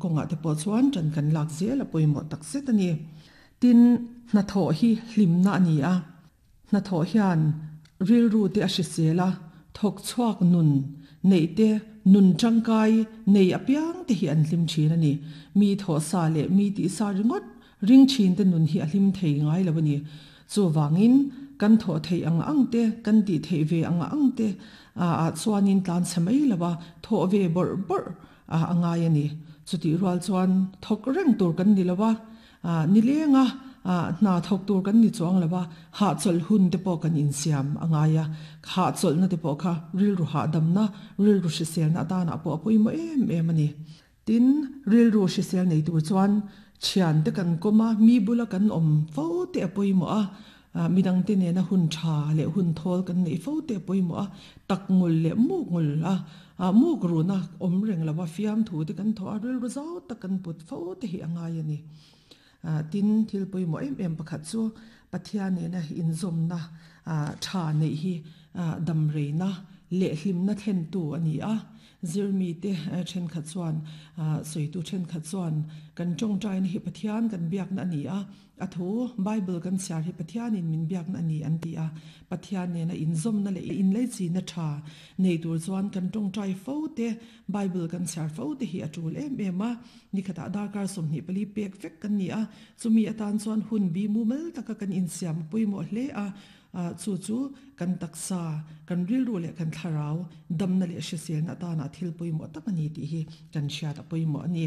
kawngah te pawh chuan ṭan kan lak zel a pawimawh tak zet a ni. Tin, hnathawh hi hlimna a ni a, hnathawh hian rilru te a hrisel a, thawk chhuak nun neih te, nun tangkai nei apiang te hi an hlim thin a ni. Mi thawh sa leh mi tih sa ringawt ring thin te nun hi a hlim thei ngai lo a ni. Chuvangin, kan thawh theih ang ang te, kan tih theih ve ang ang te ah chuanin tlan chhe mai lo a, thawh ve bawrh bawrh a ngai a ni. Chutih rual chuan thawk reng tur kan ni lo a, Nileng a, hna thawk tur kan ni chuang lo a, hahchawlh hun te pawh kan insiam a ngai a, hahchawlhna te pawh kha rilru hahdamna, rilru hriselna atanah pawh a pawimawh em em a ni. Tin, rilru hrisel nei tur chuan thian te kan kawm a, mi bula kan awm fo te a pawimawh a, midangte nena hun tha leh hun thawl kan neih fo te a pawimawh a, tak ngul leh muk ngul a, muk runa awm reng lo a, fiamthu te kan thawh a, rilru zau tak kan put fo te hi a ngai a ni. Tin, thil pawimawh em em pakhat chu Pathian nena inzawmna tha neih hi damreina leh hlimna thlentu a ni a. Zirmite thenkhat chuan, sawitu thenkhat chuan kan tawngtaina hi Pathian kan biakna a ni a, A thu, Bible kan chhiar hi Pathianin min biakna a ni an ti a. Pathian nena inzawmna leh inleichina tha nei tur chuan kan tawngtai fo te, Bible kan chhiar fo te hi a tul em em a. Nikhatah darkar 24 pek vek kan ni a, chumi atan chuan hun bi mumal taka kan insiam a pawimawh hle a. Chu chu kan taksa, kan rilru leh kan thlarau damna leh hriselna atana thil pawimawh tak a ni tih hi kan hriat a pawimawh a ni.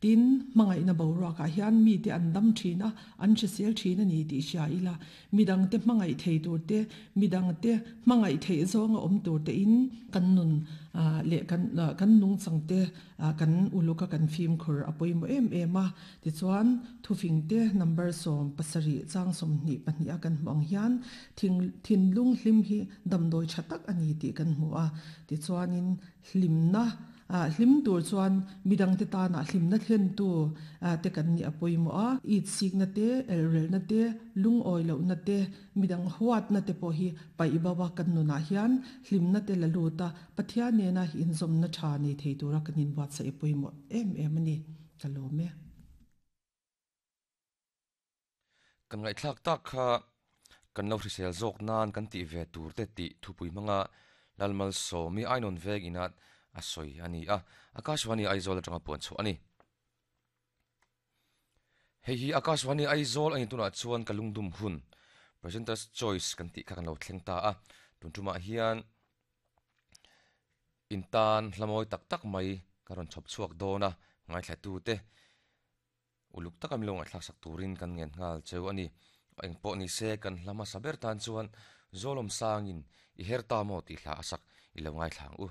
Tin, hmangaihna boruakah hian mite an dam thin a, an hrisel thin a ni tih hria ila, midangte hmangaih thei tur te, midangte hmangaih theih zawnga awm tur tein kan nun leh kan kan nungchang te kan uluk a kan fimkhur a pawimawh em em a. Tichuan, thufingte number 17 chang 22 a kan hmuh ang hian thing thinlung hlim hi damdawi tha tak a ni tih kan hmu a. Tichuanin hlimna Hlim tur chuan midangte tana hlimna thlentu te kan nih a pawimawh a, itsikna te, elrelna te, lungawi lohna te, midang huatna te pawh hi paih bo a kan nunah hian hlimna te la lut a, Pathian nena inzawmna tha nei thei tura kan inbuatsaih a pawimawh em em a ni. Ka lawm e. Kan ngaihthlak tak kha kan lo hrisel zawk nan kan tih ve tur te tih thupui hmanga Lalmalsawmi Ainawn veng inah a sawi a ni a, Akashvani Aizawl atanga puan chhuah a ni. Hei hi Akashvani Aizawl a ni tunah chuan ka lungdum hun Presenter's Choice kan tih kha kan lo thleng ta a, tun tumah hian intan hla mawi tak tak mai ka rawn chhawp chhuak dawn a, ngaithlatute Uluk taka milo ngaihthlak sak turin kan ngen nghal cheu a ni. Engpawh ni se kan hla hmasa ber tan chuan Zawlawm sangin i her ta maw tih hla a sak i lo ngaithla ang u.